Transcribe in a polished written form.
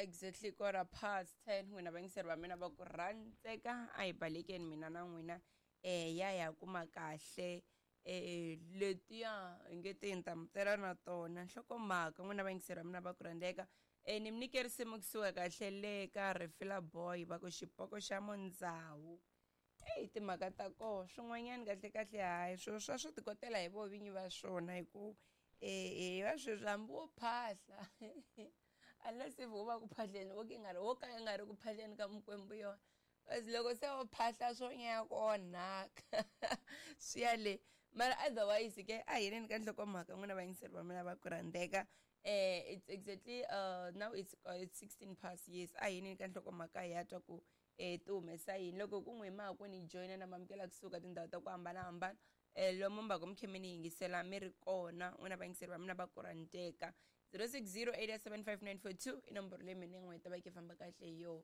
Exactly 10:15, n'wina vayingiseri va mina va ku rhandzeka, a hi balekeni mina na n'wina ya ya kuma kahle letiya hi nge ti ni ta mi tela na tona nhlokomhaka. N'wina vayingiseri va mina va ku rhandzeka, ni mi nyike risimu kusuka kahle le ka Refila Boy va ku xipoko xa Mundzawu. Eyi, timhaka ta koho swin'wanyana kahle kahle hayi swilo swa swi tikotela hi vo vinyi va swona, hi ku hi va sweswi hambi wo phahla, unless if wo va ku phahleni wo ka nga ri wo ka nga ri ku phahleni ka mikwembu yona, kasi loko se wo phahla swo nyaya ku onhaka swi ya le. Mara otherwise ke a hi yeleni ka nhlokomhaka, n'wina vayingiseri va mina va ku rhandzeka. It's exactly now it's 16 past years. A hi yeleni ka nhlokomhaka hi ya twa ku ti humesa yini. Loko ku n'wi ma ku ni joyina na mamukela kusuka tindhawu ta ku hambanahambana, lomu mbako mi khe mi ni yingisela mi ri kona, n'wina vayingiseri va mina va ku rhandzeka, 0608755942 i nomboro leyi mina n'we ta va yi famba kahle hi yona.